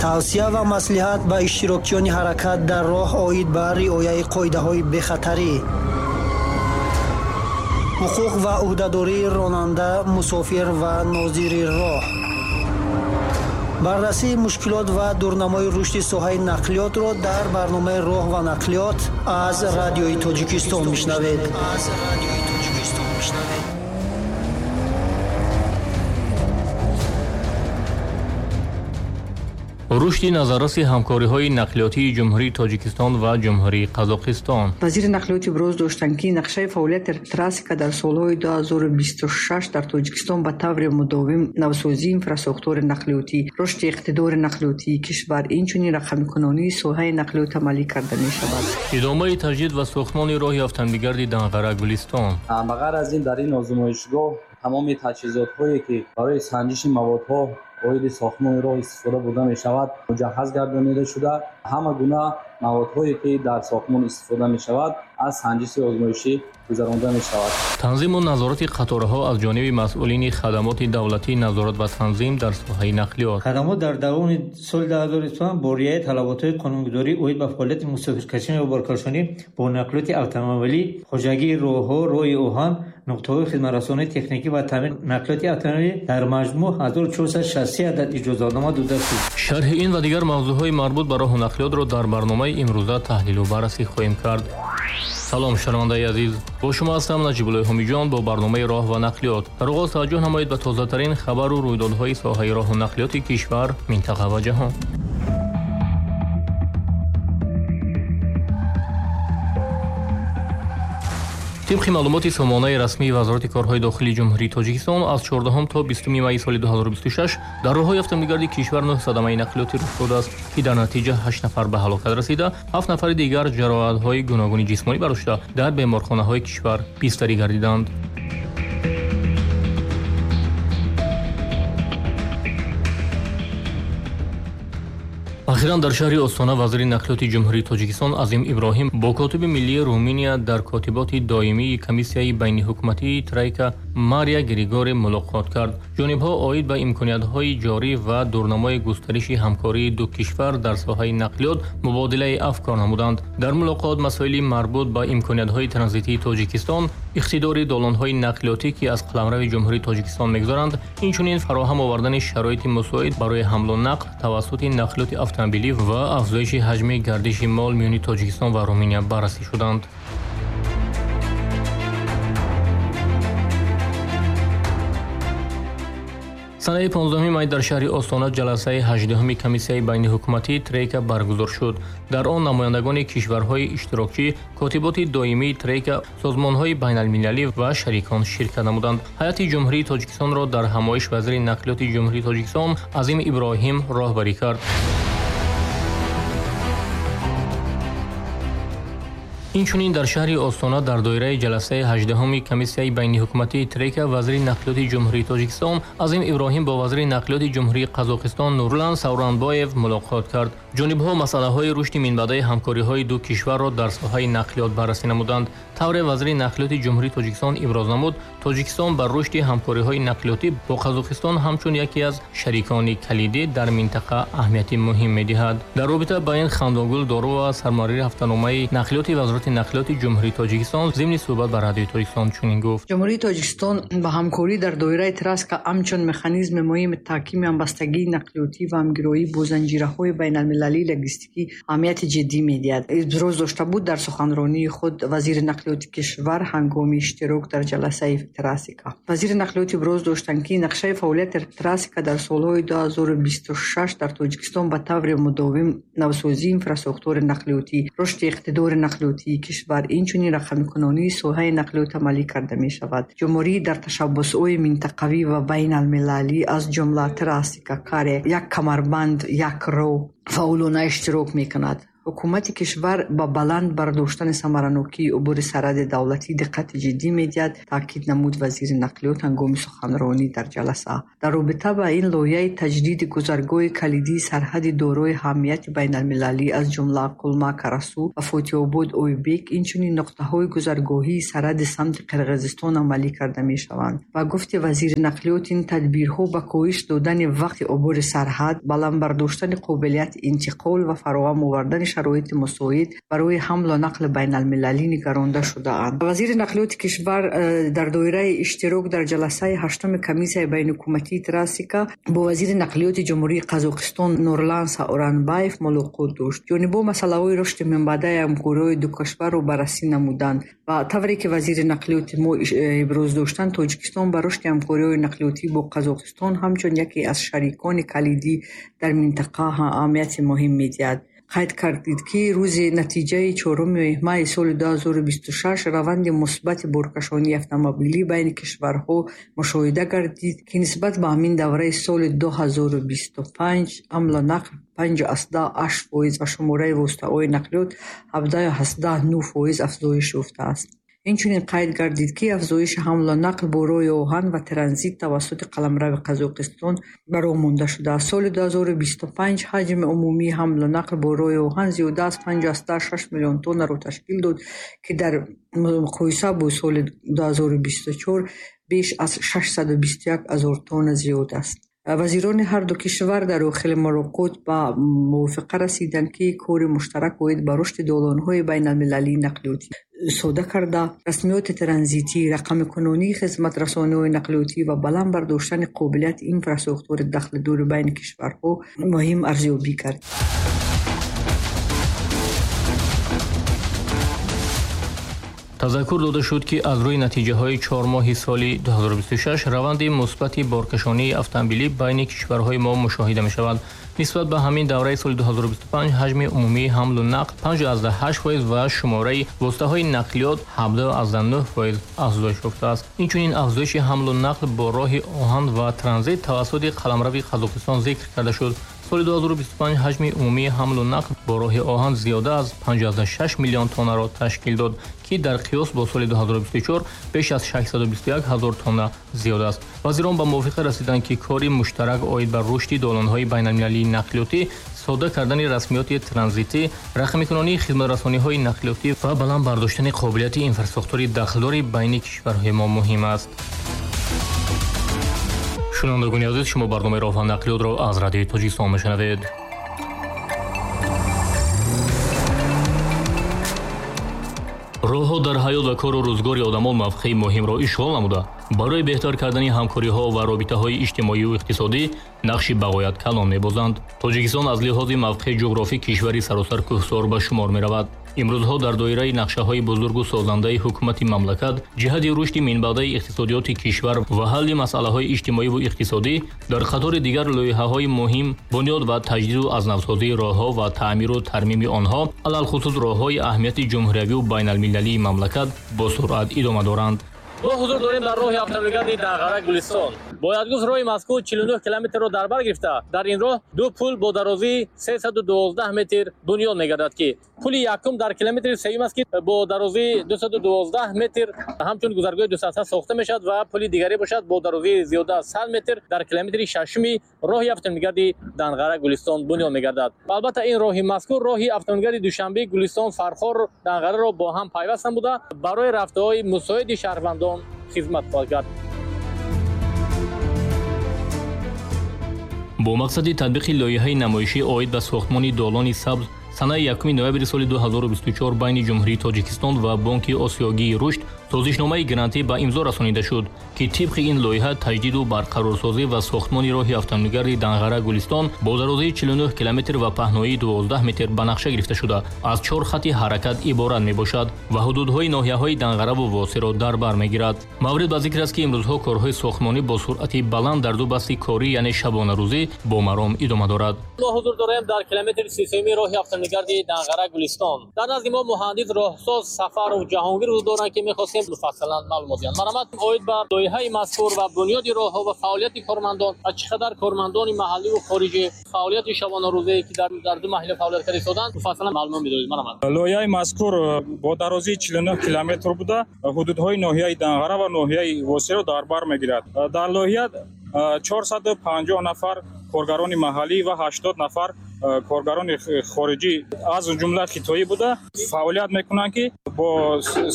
Тавсия ва маслиҳат ба иштирокчиёни ҳаракат дар роҳ оид ба риояи қоидаҳои бехатарӣ. Ҳуқуқ ва ӯҳдадории ронанда, мусофир ва нозири роҳ. Баррасии мушкилот ва дурнамои рушди соҳаи нақлиётро дар барномаи «Роҳ ва нақлиёт» аз Радиои Тоҷикистон мешунавед. Рушди назарраси ҳамкориҳои нақлиётии Ҷумҳурии Тоҷикистон ва Ҷумҳурии Қазоқистон. Вазири нақлиёт иброз доштанд, ки нақшаи фаъолияти Трасика дар солҳои 2026 дар Тоҷикистон ба таври мудовим навсозии инфрасохтори нақлиётӣ, рушди иқтидори нақлиётии кишвар, инчунин рақамикунонии соҳаи нақлиёт амалӣ карда мешавад. Идомаи таҷдид ва сохтмони роҳи автомобилгарди Данғара Гулистон. Ба ғайр аз ин, дар ин озмоишгоҳ тамоми таҷҳизотҳое, ки барои санҷиши маводҳо оиди сохтмони роҳ истифода бурда мешавад, муҷаҳҳаз гардонида шуда, ҳама гуна маводҳое, ки дар сохтмон истифода мешавад, аз санҷиши озмоишӣ гузаронда мешавад. Танзиму назорати қатораҳо аз ҷониби масъулини хадамоти давлатии назорат ва танзим дар соҳаи нақлиёт. Хадамот дар давоми соли 2025 бо риояи талаботҳои қонунгузорӣ оид ба фаъолияти мусофиркашӣ ва боркашонӣ бо нақлиёти автомобилӣ, хоҷагии роҳҳо, роҳи оҳан, нуқтаҳои хизматрасонии техникӣ ва таъмини нақлиёти автомобилӣ дар маҷмӯъ 1463 адад иҷозатнома дода шуд. Шарҳи ин ва дигар мавзӯъҳои марбут ба роҳу нақлиётро дар барномаи имрӯза таҳлилу баррасӣ хоҳем кард. Салом, шунавандаи азиз, бо шумо ҳастам Наҷибуллои Ҳомиҷон бо барномаи «Роҳ ва нақлиёт». Дар оғоз таваҷҷӯҳ намоед ба тозатарин хабару рӯйдодҳои соҳаи роҳу нақлиёти кишвар, минтақа ва ҷаҳон. Тибқи маълумоти сомонаи расмии Вазорати корҳои дохилии Ҷумҳурии Тоҷикистон аз 14 то 20 майи соли 2026 дар роҳҳои автомобилгарди кишвар 9 садамаи нақлиётӣ рух додааст, ки дар натиҷа 8 нафар ба ҳалокат расида, 7 нафари дигар ҷароҳатҳои гуногуни ҷисмонӣ бардошта дар беморхонаҳои кишвар бистарӣ гардиданд. Ахиран дар шаҳри Остона вазири нақлиёти Ҷумҳурии Тоҷикистон Азим Иброҳим бо котиби миллии Руминия дар котиботи доимии комиссияи байниҳукуматии Тройка Мария Григоре мулоқот кард. Ҷонибҳо оид ба имкониятҳои ҷорӣ ва дурнамои густариши ҳамкории ду кишвар дар соҳаи нақлиёт мубодилаи афкор намуданд. Дар мулоқот масоили марбут ба имкониятҳои транзитии Тоҷикистон, иқтидори долонҳои нақлиётӣ, ки аз қаламрави Ҷумҳурии Тоҷикистон мегузаранд, инчунин фароҳам овардани шароити мусоид барои ҳамлу нақл тавассути нақлиёти автомобилӣ ва афзоиши ҳаҷми гардиши мол миёни Тоҷикистон ва Руминия баррасӣ шуданд. Санаи 15 май дар шаҳри Остона ҷаласаи 18 комиссияи байниҳукуматии Тройка баргузор шуд. Дар он намояндагони кишварҳои иштирокчӣ, котиботи доимии Тройка, созмонҳои байналмилалӣ ва шарикон ширкат намуданд. Ҳайати Ҷумҳурии Тоҷикистонро дар ҳамоиш вазири нақлиёти Ҷумҳурии Тоҷикистон Азим Иброҳим роҳбарӣ кард. Инчунин дар шаҳри Остона дар доираи ҷаласаи 18 комиссияи байниҳукуматии Тройка вазири нақлиёти Ҷумҳурии Тоҷикистон Азим Иброҳим бо вазири нақлиёти Ҷумҳурии Қазоқистон Нурлан Сауранбоев мулоқот кард. Ҷонибҳо масъалаҳои рушди минбаъдаи ҳамкориҳои ду кишварро дар соҳаи нақлиёт баррасӣ намуданд. Тавре вазири нақлиёти Ҷумҳурии Тоҷикистон иброз намуд, Тоҷикистон ба рушди ҳамкориҳои нақлиётӣ бо Қазоқистон ҳамчун яке аз шарикони калидӣ дар минтақа аҳамияти муҳим медиҳад. Дар робита ба ин Хандонгул Дорова, сармуҳаррири ҳафтаномаи нақлиёти Вазорати нақлиёти Ҷумҳурии Тоҷикистон, зимни суҳбат ба Радиои Тоҷикистон чунин гуфт: Ҷумҳурии Тоҷикистон ба ҳамкорӣ дар доираи Траска ҳамчун механизми муҳими таҳкими ҳамбастагии нақлиётӣ ва ҳамгироӣ бо занҷираҳои байналмилалии логистикӣ аҳамияти ҷиддӣ медиҳад. Иброз дошта буд дар суханронии худ вазири нақлиёти кишвар ҳангоми иштирок дар ҷаласаи Трасика. Вазири нақлиёт иброз доштанд, ки нақшаи фаъолияти Трасика дар солҳои 2026 дар Тоҷикистон ба таври мудовим навсозии инфрасохтори нақлиётӣ, рушди иқтидори нақлиётии кишвар, инчунин рақамикунонии соҳаи нақлиёт амалӣ карда мешавад. Ҷумҳурӣ дар ташаббусҳои минтақавӣ ва байналмилалӣ аз ҷумла Трасика, Каре, як камарбанд, як роҳ фаъолона иштирок мекунад. Ҳукумати кишвар ба баланд бардоштани самаранокии убури сарҳади давлатӣ диққати ҷиддӣ медиҳад, таъкид намуд вазири нақлиёт ҳангоми суханронӣ дар ҷаласа. Дар робита ба ин лоиҳаи таҷдиди гузаргоҳи калидии сарҳади дорои аҳамияти байналмилалӣ, аз ҷумла Кулма Карасу ва Фотиҳобод Ойбек, инчунин нуқтаҳои гузаргоҳии сарҳади самти Қирғизистон амалӣ карда мешаванд. Ба гуфти вазири нақлиёт, ин тадбирҳо ба коҳиш додани вақти убури сарҳад, баланд бардоштани қобилияти интиқол ва фароҳам овардани шароити мусоид барои ҳамлу нақли байналмилалӣ нигаронда шудаанд. Вазири нақлиёти кишвар дар доираи иштирок дар ҷаласаи ҳаштуми комиссияи байнҳукуматии Трасика бо вазири нақлиёти Ҷумҳурии Қазоқистон Нурлан Сауранбаев мулоқот дошт. Ҷонибҳо масъалаҳои рушди минбаъдаи ҳамкориҳои ду кишварро баррасӣ намуданд ва тавре ки вазири нақлиёти мо иброз доштанд, Тоҷикистон ба рушди ҳамкориҳои нақлиётӣ бо Қазоқистон ҳамчун яке аз шарикони калидӣ дар минтақа аҳамияти муҳим медиҳад. Қайд кардид, ки рӯзи натиҷаи 4 майи соли 2026 раванди мусбати боркашонии автомобилӣ байни кишварҳо мушоҳида гардид, ки нисбат ба ҳамин давраи соли 2025 ҳамлу нақл 5,8% ва шумораи воситаҳои нақлиёт 17,9% афзоиш ёфтааст. Инчунин қайд гардид, ки афзоиши ҳамлу нақл бо роҳи оҳан ва транзит тавассути қаламрави Қазоқистон ба роҳ монда шудааст. Соли 2025 ҳаҷми умумии ҳамлу нақл бо роҳи оҳан зиёда аз 5,6 миллион тоннаро ташкил дод, ки дар муқоиса бо соли 2024 беш аз 621 ҳазор тонна зиёд аст. Вазирони ҳар ду кишвар дар охири мулоқот ба мувофиқа расиданд, ки кори муштарак оид ба рушди долонҳои байналмилалии нақлиётӣ сода карда, расмиёти транзитӣ, рақамикунонии хизматрасониҳои нақлиётӣ ва баланд бардоштани қобилияти инфрасохтори дахлдори байни кишварҳо муҳим арзёбӣ кард. Тазаккур дода шуд, ки аз рӯи натиҷаҳои 4 моҳи соли 2026 раванди мусбати боркашонии автомобилӣ байни кишварҳои мо мушоҳида мешавад. Нисбат ба ҳамин давраи соли 2025 ҳаҷми умумии ҳамлу нақл 5,8% ва шумораи воситаҳои нақлиёт 17,9% афзоиш ёфтааст. Инчунин афзоиши ҳамлу нақл бо роҳи оҳан ва транзит тавассути қаламрави Қазоқистон зикр карда шуд. Соли 2025 ҳаҷми умумии ҳамлу нақл бо роҳи оҳан зиёда аз 5,6 миллион тоннаро ташкил дод, ки дар қиёс бо соли 2024 беш аз 621 ҳазор тонна зиёд аст. Вазирон ба мувофиқа расиданд, ки кори муштарак оид ба рушди долонҳои байналмилалии нақлиётӣ, сода кардани расмиёти транзитӣ, рақамикунонии хизматрасониҳои нақлиётӣ ва баланд бардоштани қобилияти инфрасохтори дахлдори байни кишварҳои мо муҳим аст. Шунавандагони азиз, шумо барномаи роҳ ва нақлиётро аз радиои Тоҷикистон мешунавед. Роҳҳо дар ҳаёт ва кору рӯзгори одамон мавқеи муҳимро ишғол намуда, барои беҳтар кардани ҳамкориҳо ва робитаҳои иҷтимоию иқтисодӣ нақши бағоят калон мебозанд. Тоҷикистон аз лиҳози мавқеи ҷуғрофӣ кишвари саросар кӯҳсор ба шумор меравад. Имрӯзҳо дар доираи нақшаҳои бузургу созандаи ҳукумати мамлакат ҷиҳати рушди минбаъдаи иқтисодиёти кишвар ва ҳалли масъалаҳои иҷтимоиву иқтисодӣ дар қатори дигар лоиҳаҳои муҳим бунёд ва таҷдиду азнавсозии роҳҳо ва таъмиру тармими онҳо, алалхусус роҳҳои аҳамияти ҷумҳуриявию байналмилалии мамлакат бо суръат идома доранд. Мо ҳузур дорем дар роҳи автомобилгарди Данғара Гулистон. Бояд гуфт, роҳи мазкур 49 километрро дар бар гирифта, дар ин роҳ ду пул бо дарозии 312 метр бунёд мегардад, ки пули якум дар километри сеюм аст, ки бо дарозии 212 метр ҳамчун гузаргоҳи дусатҳа сохта мешавад ва пули дигаре бошад бо дарозии зиёда аз 100 метр дар километри шашуми роҳи автомобилгарди Данғара Гулистон бунёд мегардад. Албатта, ин роҳи мазкур роҳи автомобилгарди Душанбе Гулистон Фархор Данғараро бо ҳам пайваст намуда, барои рафтаҳои мусоиди шаҳрвандон хизмат хоҳад кард. Бо мақсади татбиқи лоиҳаи намоишӣ оид ба сохтмони долони сабз санаи 1 ноябри соли 2024 байни Ҷумҳурии Тоҷикистон ва Бонки Осиёгии рушд созишномаи грантӣ ба имзо расонида шуд, ки тибқи ин лоиҳа таҷдиду барқарорсозӣ ва сохтмони роҳи автомобилгарди Данғара Гулистон бо дарозии 49 километр ва паҳноии 12 метр ба нақша гирифта шуда, аз 4 хати ҳаракат иборат мебошад ва ҳудудҳои ноҳияҳои Данғараву Восеро дар бар мегирад. Маврид ба зикр аст, ки имрӯзҳо корҳои сохтмонӣ бо суръати баланд дар ду басти корӣ, яъне шабонарӯзӣ, бо маром идома дорад. Мо ҳузур дорем дар километри 33 роҳи автомобилгарди Данғара Гулистон. Дар назди мо муҳандис роҳсоз Сафаров Ҷаҳонгир ҳузур доранд, ки мехостем ҳастем, муфассалан маълумот диҳанд. Марҳамат, оид ба лоиҳаи мазкур ва бунёди роҳҳо ва фаъолияти кормандон ва чӣ қадар кормандони маҳаллӣ ва хориҷӣ фаъолияти шабонарӯзае ки дар ду маҳалла фаъолият карда истоданд, муфассалан маълумот медодед. Марҳамат. Лоиҳаи мазкур бо дарозии 49 километр буда, ҳудудҳои ноҳияи Данғара ва ноҳияи Восеро дар бар мегирад. Дар лоиҳа 450 нафар коргарони маҳаллӣ ва 80 нафар коргарони хориҷӣ, аз ҷумла хитоӣ буда, фаъолият мекунанд, ки бо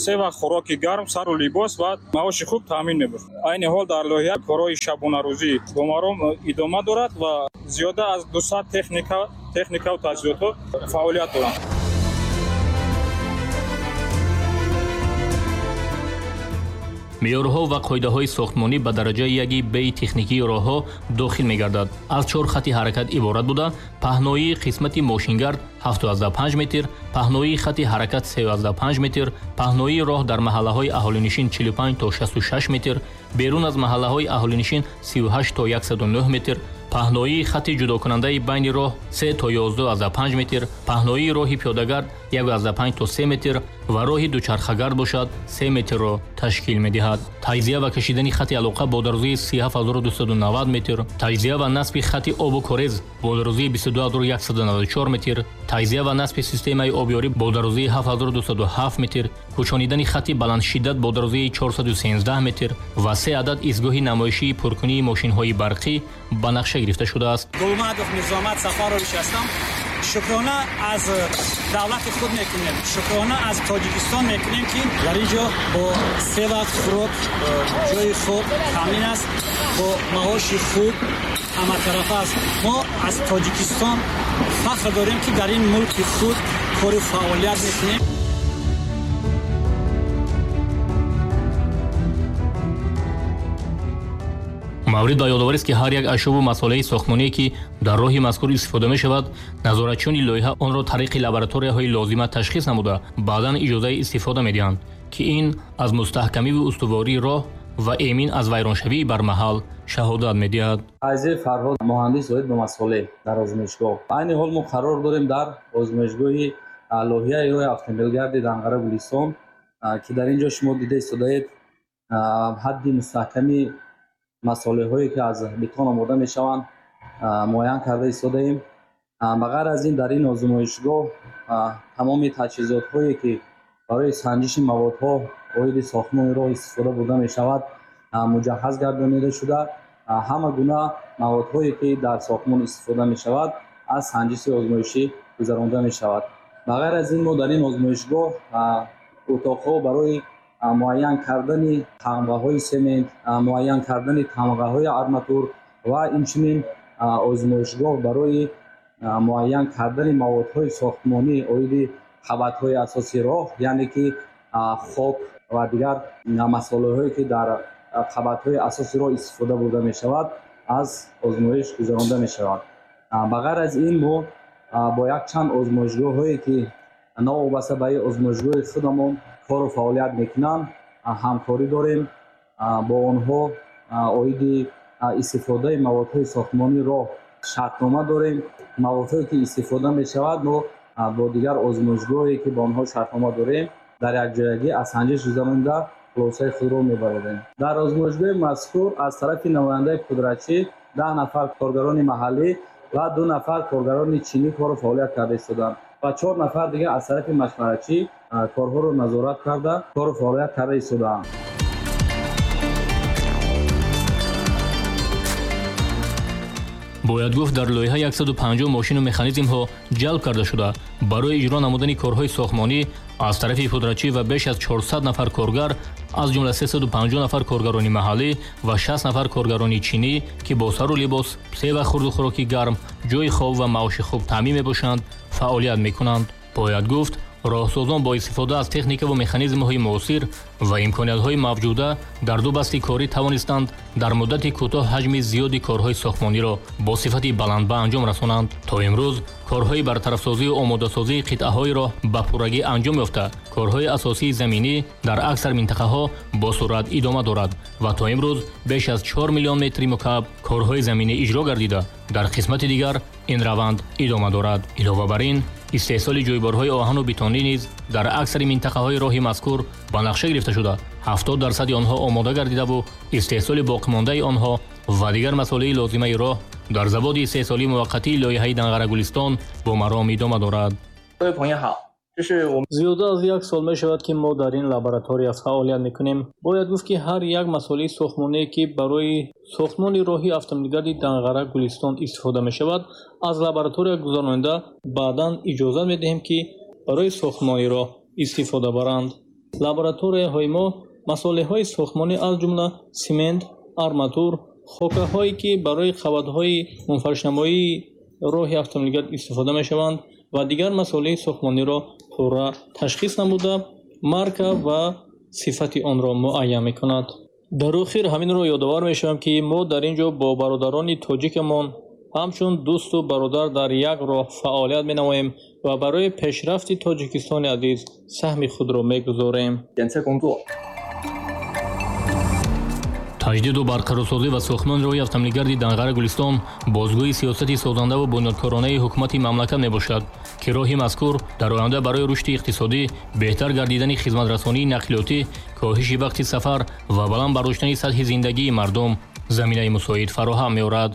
се вақт хӯроки гарм, сару либос ва маоши хуб таъмин мебошад. Айни ҳол дар лоиҳа корҳои шабонарӯзӣ бо маром идома дорад ва зиёда аз 200 техникаву таҷҳизотҳо фаъолият доранд. Меъёрҳо ва қоидаҳои сохтмонӣ ба дараҷаи яки б техникии роҳҳо дохил мегардад. Аз 4 хати ҳаракат иборат буда, паҳноии қисмати мошингард 7,5 метр, паҳноии хати ҳаракат 3,5 метр, паҳноии роҳ дар маҳаллаҳои аҳолинишин 45 то 66 метр, берун аз маҳаллаҳои аҳолинишин 38 то 109 метр, паҳноии хати ҷудокунандаи байни роҳ 3 то 11,5 метр, паҳноии роҳи пиёдагард 1,5 то 3 метр ва роҳи дучархагард бошад 3 метрро ташкил медиҳад. Таҷзия ва кашидани хати алоқа бо дарозии 37290 метр, таҷзия ва насби хати обу корез бо дарозии 22194 метр, таҷзия ва насби системаи обёрӣ бо дарозии 7207 метр, кӯчонидани хати баландшиддат бо дарозии 413 метр ва 3 адад истгоҳи намоишии пуркунии мошинҳои барқӣ ба нақша гирифта шудааст. Гулмадов Мирзоамад Сафарович ҳастам. Шукрона аз давлати худ мекунем, шукрона аз Тоҷикистон мекунем, ки дар ин ҷо бо се вақт хӯрок, ҷои хоб таъмин аст, бо маоши хуб ҳаматарафа аст. Мо аз Тоҷикистон фахр дорем, ки дар ин мулки худ кору фаъолият мекунем. Маврид ба ёдоварист, ки ҳар як ашёву масолеҳи сохтмоние, ки дар роҳи мазкур истифода мешавад, назоратчиёни лоиҳа онро тариқи лабораторияҳои лозима ташхис намуда, баъдан иҷозаи истифода медиҳанд, ки ин аз мустаҳкамиву устувории роҳ ва эмин аз вайроншавии бармаҳал шаҳодат медиҳад. Файзи Фарҳод, муҳандис оид ба масолеҳ дар озмоишгоҳ. Айни ҳол мо қарор дорем дар озмоишгоҳи лоиҳаи роҳи автомобилгарди Данғара Гулистон, ки дар ин ҷо шумо дида истодаед ҳадди мустаҳками масолеҳое ки аз бетон омода мешаванд муайян карда истодаем. Ба ғайр аз ин, дар ин озмоишгоҳ тамоми таҷҳизотҳое ки барои санҷиши маводҳо оиди сохтмони роҳ истифода бурда мешавад, муҷаҳҳаз гардонида шуда, ҳама гуна маводҳое ки дар сохтмон истифода мешавад аз санҷиши озмоишӣ гузаронда мешавад. Ба ғайр аз ин, мо дар ин озмоишгоҳ утоқҳо барои муайян кардани тамғаҳои семент, муайян кардани тамғаҳои арматур ва инчунин озмоишгоҳ барои муайян кардани маводҳои сохтмонӣ оиди қабатҳои асосии роҳ, яъне ки хок ва дигар масолеҳое ки дар қабатҳои асосии роҳ истифода бурда мешавад, аз озмоиш гузаронда мешавад. Ба ғайр аз ин, мо бо якчанд озмоишгоҳҳое ки новобаста ба ин озмоишгоҳи худамон кору фаъолият мекунанд, ҳамкорӣ дорем. Бо онҳо оиди истифодаи маводҳои сохтмонии роҳ шартнома дорем. Маводҳое ки истифода мешавад, мо бо дигар озмоишгоҳе ки бо онҳо шартнома дорем, дар якҷоягӣ аз санҷиш гузаронда хулосаи худро мебарорем. Дар озмоишгоҳи мазкур аз тарафи намояндаи пудратчӣ 10 нафар коргарони маҳаллӣ ва 2 нафар коргарони чинӣ кору фаъолият карда истоданд ва 4 нафар дигар аз тарафи машваратчӣ корҳоро назорат карда, кору фаъолият карда истодаанд. Бояд гуфт, дар лоиҳа 150 мошину механизмҳо ҷалб карда шуда, барои иҷро намудани корҳои сохтмонӣ аз тарафи пудратчӣ ва беш аз 400 нафар коргар, аз ҷумла 350 нафар коргарони маҳаллӣ ва 60 нафар коргарони чинӣ, ки бо сару либос, се вақт хурду хӯроки гарм, ҷои хоб ва маоши хуб таъмин мебошанд, фаъолият мекунанд. Бояд гуфт, роҳсозон бо истифода аз техника ва механизмҳои муосир ва имкониятҳои мавҷуда дар ду басти корӣ тавонистанд дар муддати кӯтоҳ ҳаҷми зиёди корҳои сохтмониро бо сифати баланд ба анҷом расонанд. То имрӯз корҳои бартарафсозию омодасозии қитъаҳои роҳ ба пуррагӣ анҷом ёфта, корҳои асосии заминӣ дар аксар минтақаҳо бо суръат идома дорад ва то имрӯз беш аз 4 миллион метри мукааб корҳои заминӣ иҷро гардида, дар қисмати дигар ин раванд идома дорад. Илова бар ин, Истеҳсоли ҷойборҳои оҳану бетонӣ низ дар аксари минтақаҳои роҳи мазкур ба нақша гирифта шуда, 70% онҳо омода гардидаву истеҳсоли боқимондаи онҳо ва дигар масолеҳи лозимаи роҳ дар заводи истеҳсолии муваққатии лоиҳаи Данғара-Гулистон бо маром идома дорад. Зиёда аз як сол мешавад, ки мо дар ин лаборатория фаъолият мекунем. Бояд гуфт, ки ҳар як масолеҳи сохтмоние, ки барои сохтмони роҳи автомобилгарди Данғара-Гулистон истифода мешавад, аз лаборатория гузаронида баъдан иҷозат медиҳем, ки барои сохтмони роҳ истифода баранд. Лабораторияҳои мо масолеҳҳои сохтмонӣ аз ҷумла симент, арматур, хокаҳое, ки барои қабатҳои мунфаришнамоии роҳи автомобилгард истифода мешаванд ва дигар масолеҳи сохтмониро пурра ташхис намуда, марка ва сифати онро муайян мекунад. Дар охир ҳаминро ёдовар мешавам, ки мо дар ин ҷо бо бародарони тоҷикамон ҳамчун дӯсту бародар дар як роҳ фаъолият менамоем ва барои пешрафти Тоҷикистони азиз саҳми худро мегузорем. Таҷдиду барқарорсозӣ ва сохтмони роҳи автомобилгарди Данғара-Гулистон бозгӯи сиёсати созандаву бунёдкоронаи ҳукумати мамлакат мебошад, ки роҳи мазкур дар оянда барои рушди иқтисодӣ, беҳтар гардидани хизматрасонии нақлиётӣ, коҳиши вақти сафар ва баланд бардоштани сатҳи зиндагии мардум заминаи мусоид фароҳам меорад.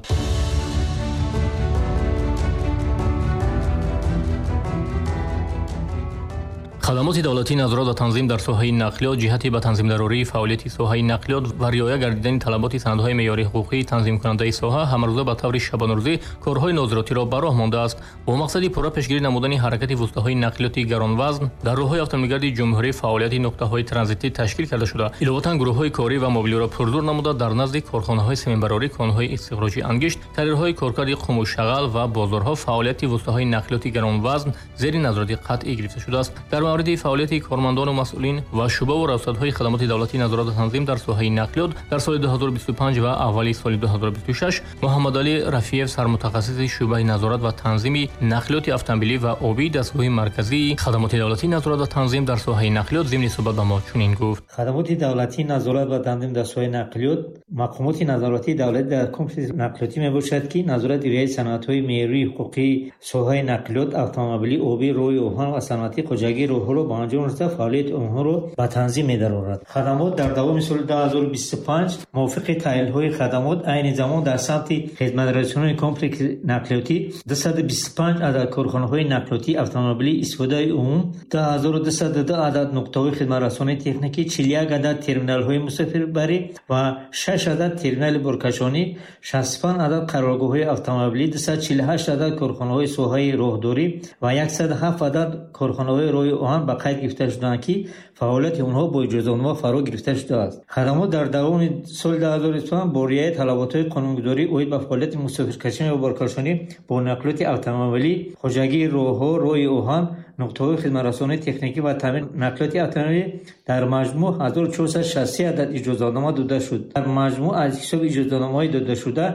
Хадамоти давлатии назорат ва танзим дар соҳаи нақлиёт ҷиҳати ба танзимдарории фаъолияти соҳаи нақлиёт ва риоя гардидани талаботи санадҳои меъёрии ҳуқуқии танзимкунандаи соҳа ҳамарӯза ба таври шабонарӯзӣ корҳои нозиротиро ба роҳ мондааст. Бо мақсади пурра пешгирӣ намудани ҳаракати воситаҳои нақлиёти гаронвазн дар роҳҳои автомобилгарди ҷумҳурӣ фаъолияти нуқтаҳои транзитӣ ташкил карда шуда, иловатан гурӯҳҳои корӣ ва мобилиро пурзур намуда дар назди корхонаҳои сементбарорӣ, конҳои истихроҷи ангишт, карьерҳои коркарди қуму шағал ва бозорҳо фаъолияти воситаҳои нақлиёти гаронвазн зери назорати қатъӣ гирифта шудааст. Дар мавриди фаъолияти кормандону масъулин ва шӯъбаву раёсатҳои хадамоти давлатии назорат ва танзим дар соҳаи нақлиёт дар соли 2025 ва аввали соли 2026 Муҳаммадалӣ Рафиев, сармутахассиси шӯъбаи назорат ва танзими нақлиёти автомобилӣ ва обии дастгоҳи марказии хадамоти давлатии назорат ва танзим дар соҳаи нақлиёт зимни суҳбат ба мо чунин гуфт. Хадамоти давлатии назорат ва танзим дар соҳаи нақлиёт мақомоти назоратии давлатӣ дар комплекси нақлиётӣ мебошад, ки назорати риояи санадҳои меъёрии ҳуқуқии соҳаи нақлиёт, автомобилӣ, обӣ, роҳи оҳан ва саноатии хоҷагии роҳҳоро ба анҷом расида фаъолияти онҳоро ба танзим медарорад. Хадамот дар давоми соли 2025 мувофиқи таҳлилҳои хадамот айни замон дар самти хизматрасонии комплекси нақлиётӣ 225 адад корхонаҳои нақлиётии автомобилӣ истифодаи умум, 2202 адад нуқтаҳои хизматрасонии техникӣ, 41 адад терминалҳои мусофирбарӣ ва 6 адад терминали боркашонӣ, 65 адад қароргоҳҳои автомобилӣ, 248 адад корхонаҳои соҳаи роҳдорӣ ва 107 адад корхонаҳои роҳи оҳан ба қайд гирифта шудаанд, ки фаъолияти онҳо бо иҷозатнома фаро гирифта шудааст. Хадамот дар давоми соли 2025 бо риояи талаботҳои қонунгузорӣ оид ба фаъолияти мусофиркашӣ ва боркашонӣ бо нақлиёти автомобилӣ, хоҷагии роҳҳо, роҳи оҳан, нуқтаҳои хизматрасонии техникӣ ва таъмини нақлиёти автомобилӣ дар маҷмӯъ 1463 адад иҷозатнома дода шуд. Дар маҷмӯъ аз ҳисоби иҷозатномаҳои додашуда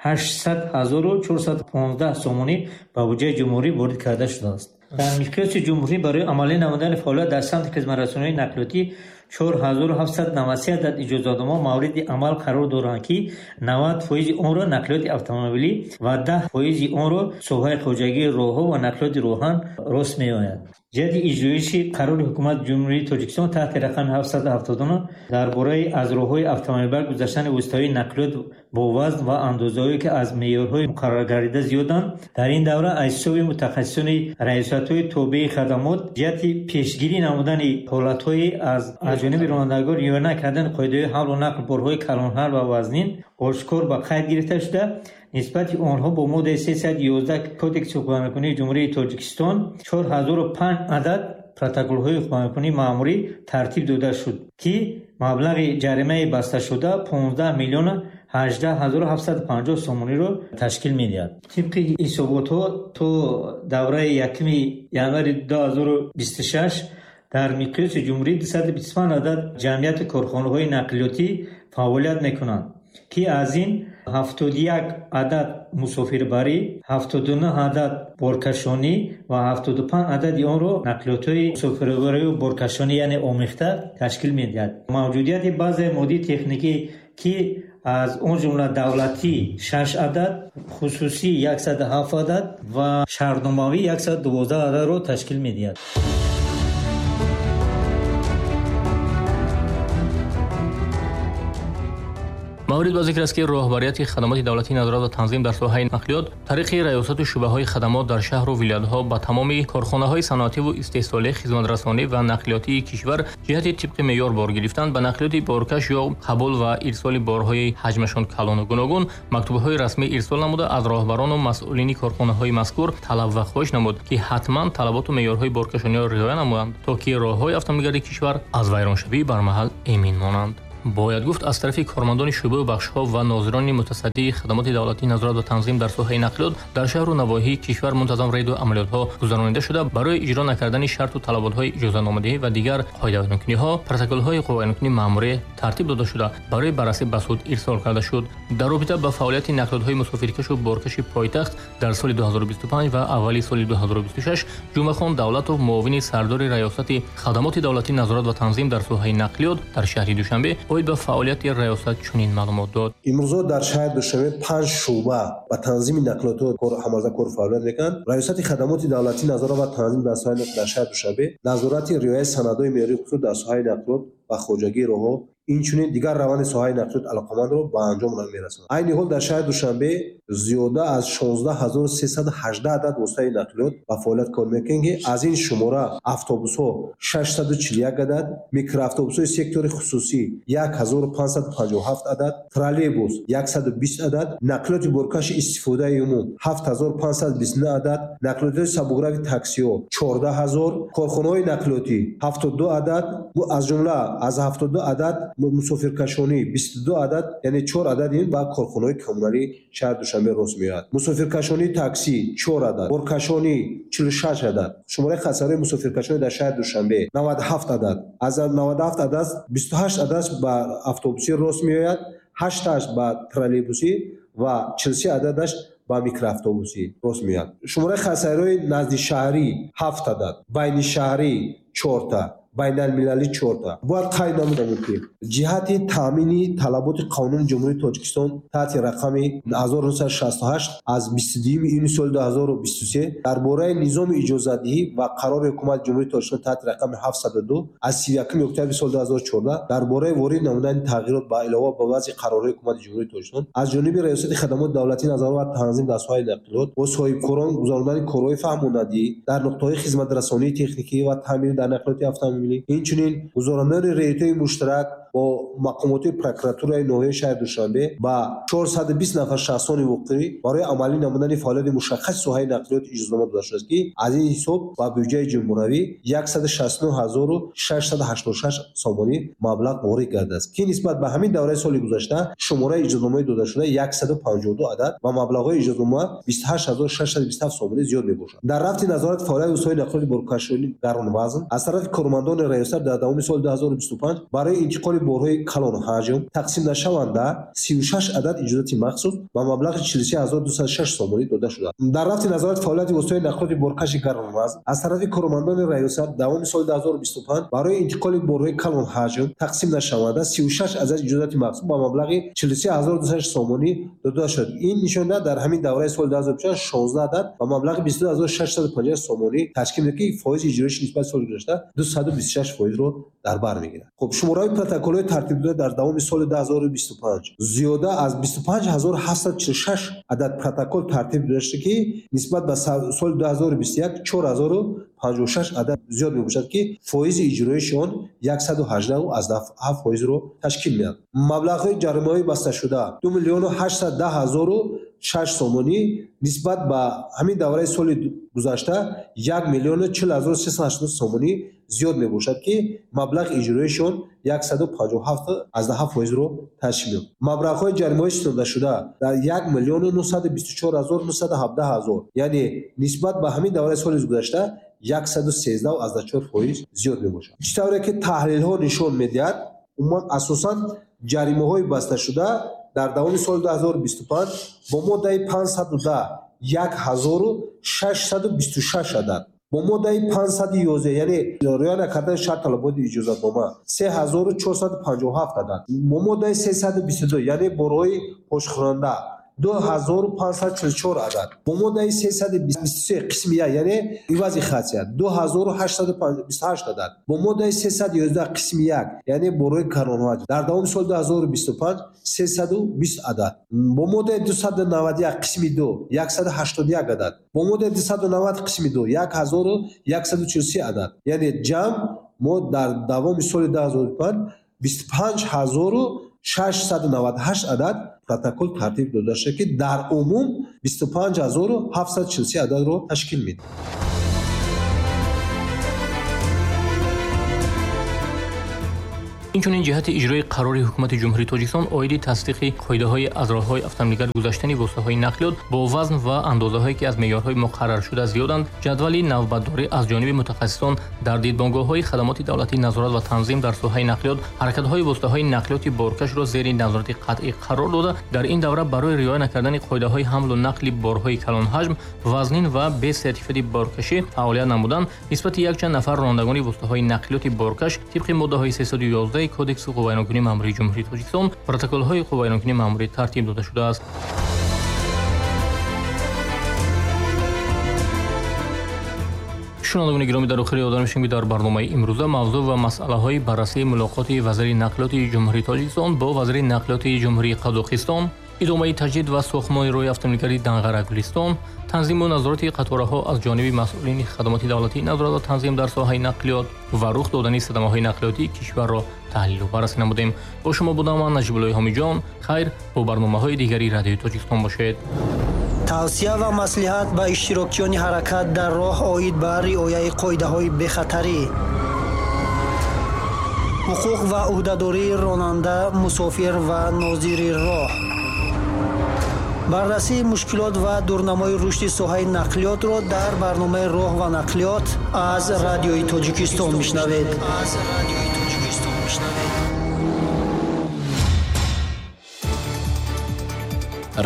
800 415 сомонӣ ба буҷаи ҷумҳурӣ ворид карда шудааст. Дар миқёси ҷумҳурӣ барои амалӣ намудани фаъолият дар самти хизматрасонии нақлиётӣ 4793 адад иҷозатнома мавриди амал қарор доранд, ки 90% онро нақлиёти автомобилӣ ва 10% онро соҳаи хоҷагии роҳҳо ва нақлиёти роҳан рост меояд. Ҷиҳати иҷроиши қарори ҳукумати Ҷумҳурии Тоҷикистон таҳти рақами 779 дар бораи аз роҳҳои автомобилбар гузаштани воситаҳои нақлиёт бо вазн ва андозаҳое, ки аз меъёрҳои муқарраргардида зиёданд, дар ин давра аз ҳисоби мутахассисони раёсатҳои тобеи хадамот ҷиҳати пешгирӣ намудани ҳолатҳои аз ҷониби ронандагон риоя накардани қоидаҳои ҳамлу нақл борҳои калонҳар ва вазнин ошкор ба қайд гирифта шуда, нисбати онҳо бо моддаи 311 Кодекси ҳуқуқвайронкунии Ҷумҳурии Тоҷикистон 4005 адад протоколҳои ҳуқуқвайронкунии маъмурӣ тартиб дода шуд, ки маблағи ҷаримаи басташуда 15 миллиона 18 750 сомониро ташкил медиҳад. Тибқи ҳисоботҳо то давраи 1 январи 2026 дар миқёси ҷумҳурӣ 225 адад ҷамъияти корхонаҳои нақлиётӣ фаъолият мекунанд, ки аз ин 71 адад мусофирбарӣ, 79 адад боркашонӣ ва 75 адади онро нақлиётҳои мусофирбарию боркашонӣ, яъне омехта, ташкил медиҳад. Мавҷудияти базаи моддии техникӣ, ки Аз он ҷумла давлатӣ 6 адад, хусусӣ 107 адад ва шаҳрномавӣ 112 ададро ташкил медиҳад. Маврид ба зикр аст, ки роҳбарияти хадамоти давлатии назорат ва танзим дар соҳаи нақлиёт тариқи раёсату шӯъбаҳои хадамот дар шаҳру вилоятҳо ба тамоми корхонаҳои саноативу истеҳсолӣ, хизматрасонӣ ва нақлиётии кишвар ҷиҳати тибқи меъёр бор гирифтан ба нақлиёти боркаш ё қабул ва ирсоли борҳои ҳаҷмашон калону гуногун мактубҳои расмӣ ирсол намуда, аз роҳбарону масъулини корхонаҳои мазкур талаб ва хоҳиш намуд, ки ҳатман талаботу меъёрҳои боркашониро риоя намоянд, то ки роҳҳои автомобилгарди кишвар аз вайроншавӣ бармаҳал эмин монанд. Бояд гуфт, аз тарафи кормандони шӯъбаю бахшҳо ва нозирони мутасаддии хадамоти давлатии назорат ва танзим дар соҳаи нақлиёт дар шаҳру навоҳии кишвар мунтазам рейду амалиётҳо гузаронида шуда, барои иҷро накардани шарту талаботҳои иҷозатномадиҳӣ ва дигар қоидавайронкуниҳо протоколҳои ҳуқуқвайронкунии маъмурӣ тартиб дода шуда, барои баррасӣ ба суд ирсол карда шуд. Дар робита ба фаъолияти нақлиётҳои мусофиркашу боркаши пойтахт дар соли 2025 ва аввали соли 2026 Ҷумъахон Давлатов, муовини сардори раёсати хадамоти давлатии назорат ва танзим дар соҳаи нақлиёт дар шаҳри Душанбе оид ба фаъолияти раёсат чунин маълумот дод. Имрӯзо дар шаҳри Душанбе 5 шӯъба ба танзими нақлиётҳо ҳамарза кор фаъолият мекунанд. Раёсати хадамоти давлатии назорат ва танзим дар соҳаи дар шаҳри Душанбе назорати риояи санадҳои меъёрии ҳуқуқӣ дар соҳаи нақлиёт ва хоҷагии роҳҳо, инчунин дигар раванди соҳаи нақлиёт алоқамандро ба анҷом мерасонад. Айни ҳол дар шаҳри Душанбе зиёда аз 16318 адад воситаи нақлиёт ба фаъолият кор мекунанд, ки аз ин шумора автобусҳо 641 адад, микроавтобусҳои сектори хусусӣ 1557 адад, троллейбус 120 адад, нақлиёти боркаши истифодаи умум 7529 адад, нақлиётҳои сабукрави таксиҳо 14000, корхонаҳои нақлиётӣ 72 адад, аз ҷумла аз 72 адад мусофиркашонӣ 22 адад, яъне 4 адад ин ба корхонаҳои коммуналии шаҳри Душанбе рост меояд. Мусофиркашонии таксӣ 4 адад, боркашонӣ 46 адад. Шумораи хатсайрҳои мусофиркашонӣ дар шаҳри Душанбе 97 адад. Аз 97 адад 28 адад ба автобусӣ рост меояд, 8 ба троллейбусӣ ва 43 ададаш ба микроавтобусӣ рост меояд. Шумораи хатсайрҳои наздишаҳрӣ 7 адад, байнишаҳрӣ 4 та, байналмилалӣ 4 та. Бояд қайд намудам, ки ҷиҳати таъмини талаботи қонуни Ҷумҳурии Тоҷикистон таҳти рақами 1968 аз 22 июни соли 2023 дар бораи низоми иҷозатдиҳӣ ва қарори Ҳукумати Ҷумҳурии Тоҷикистон таҳти рақами 702 аз 31 октябри соли 2014 дар бораи ворид намудани тағйирот ба илова ба баъзе қарорҳои Ҳукумати Ҷумҳурии Тоҷикистон аз ҷониби Раёсати хадамоти давлатии назорат ва танзим дар соҳаи нақлиёт бо соҳибкорон гузарондани корҳои фаҳмондадиҳӣ дар нуқтаҳои хизматрасонии техникӣ ва таъмирӣ дар нақлиёти автомобилӣ, инчунин гузарондани рейдҳои муштарак бо мақомоти прокуратураи ноҳияи шаҳри Душанбе ба 420 нафар шахсони воқеӣ барои амалӣ намудани фаъолияти мушаххаси соҳаи нақлиёт иҷозатнома дода шудааст, ки аз ин ҳисоб ба бюҷаи ҷумҳуравӣ 169686 сомонӣ маблағ ворид гардидааст, ки нисбат ба ҳамин давраи соли гузашта шумораи иҷозатномаҳои додашуда 152 адад ва маблағҳои иҷозатнома 28627 сомонӣ зиёд мебошад. Дар рафти назорати фаъолияти воситаҳои нақлиёти боркашонӣ гаронвазн аз тарафи кормандони раёсат дар давоми соли 2025 барои интиқоли борҳои калонҳаҷм тақсим нашаванда 36 адад иҷозати махсус ба маблағи 43206 сомонӣ дода шудааст. Дар рафти назорати фаъолияти воситаҳои нақлиёти боркаши гаронвазн аз тарафи кормандони раёсат давоми соли 2025 барои интиқоли борҳои калонҳаҷм тақсим нашаванда 36 адад иҷозати махсус ба маблағи 43206 сомонӣ дода шуд. Ин нишон дар ҳамин давраи соли 2025 16 адад ба маблағи 22650 сомонӣ ташкил медиҳад, ки фоизи иҷроиши нисбат соли гузашта 226%-ро дар бар мегирад. Хуб, шумораи протоколҳои тартибдода дар давоми соли 2025 зиёда аз 25746 адад протокол тартиб дода шуда, ки нисбат ба соли 2021 4056 адад зиёд мебошад, ки фоизи иҷроиши он 118,7%-ро ташкил медиҳад. Маблағҳои ҷаримаҳои басташуда 2 810 006 сомонӣ нисбат ба ҳамин давраи соли гузашта 1 040 380 сомонӣ зиёд мебошад, ки маблағи иҷроиши он 157,7%-ро ташкил медиҳад. Маблағҳои ҷаримаҳои ситондашуда дар 1 924 917 ҳазор, яъне нисбат ба ҳамин давраи соли гузашта 113,4% зиёд мебошад. Чӣ тавре ки таҳлилҳо нишон медиҳад, умуман асосан ҷаримаҳои басташуда дар давоми соли 2025 бо моддаи 510 1626 адад, Бо моддаи 511, яъне риоя накардани шарт талаботи иҷозатнома, 3457 адад. Бо моддаи 322, яъне борҳои пошхӯранда, 2544 адад. Бо моддаи 323 қисми 1, яъне ивази хатсия, 2828 адад. Бо моддаи 311 қисми 1, яъне борҳои каронҳоҷ, дар давоми соли 2025 320 адад. Бо моддаи 291 қисми 2, 181 адад. Бо моддаи 290 қисми 2, 1143 адад. Яъне ҷамъ мо дар давоми соли 2025 25698 адад протокол тартиб дода шуд, ки дар умум 25743 ададро ташкил медиҳад. Инчунин ҷиҳати иҷрои қарори Ҳукумати Ҷумҳурии Тоҷикистон оиди тасдиқи қоидаҳои аз роҳҳои автомобилгард гузаштани воситаҳои нақлиёт бо вазн ва андозаҳое, ки аз меъёрҳои муқарраршуда зиёданд, ҷадвали навбатдорӣ аз ҷониби мутахассисон дар дидбонгоҳҳои хадамоти давлатии назорат ва танзим дар соҳаи нақлиёт ҳаракатҳои воситаҳои нақлиёти боркашро зери назорати қатъӣ қарор дода, дар ин давра барои риоя накардани қоидаҳои ҳамлу нақли борҳои калонҳаҷм, вазнин ва бе сертификати боркашӣ фаъолият намудан нисбати якчанд нафар ронандагони воситаҳои нақлиёти боркаш тибқи моддаҳои 311 Кодекси ҳуқуқвайронкунии маъмурии Ҷумҳурии Тоҷикистон протоколҳои ҳуқуқвайронкунии маъмурӣ тартиб дода шудааст. Шунавандагони гиромӣ, дар охир ёдовар мешавем, ки дар барномаи имрӯза мавзӯъ ва масъалаҳои баррасии мулоқоти вазири нақлиёти Ҷумҳурии Тоҷикистон бо вазири нақлиёти Ҷумҳурии Қазоқистон, идомаи таҷдид ва сохтмони роҳи автомобилгарди Данғара-Гулистон, танзиму назорати қатораҳо аз ҷониби масъулини хадамоти давлатии назорат ва танзим дар соҳаи нақлиёт ва рух додани садамаҳои нақлиётии кишварро таҳлилу баррасӣ намудем. Бо шумо будам ман, Наҷибуллои Ҳомиҷон. Хайр, бо барномаҳои дигари Радиои Тоҷикистон бошед. Тавсия ва маслиҳат ба иштирокчиёни ҳаракат дар роҳ оид ба риояи қоидаҳои бехатарӣ, ҳуқуқ ва ӯҳдадории ронанда, мусофир ва нозири роҳ, баррасии мушкилот ва дурнамои рушди соҳаи нақлиётро дар барномаи роҳ ва нақлиёт аз Радиои Тоҷикистон мешунавед.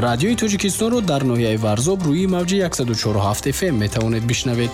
Радиои Тоҷикистонро дар ноҳияи Варзоб рӯи мавҷи 104.7 FM метавонед бишнавед.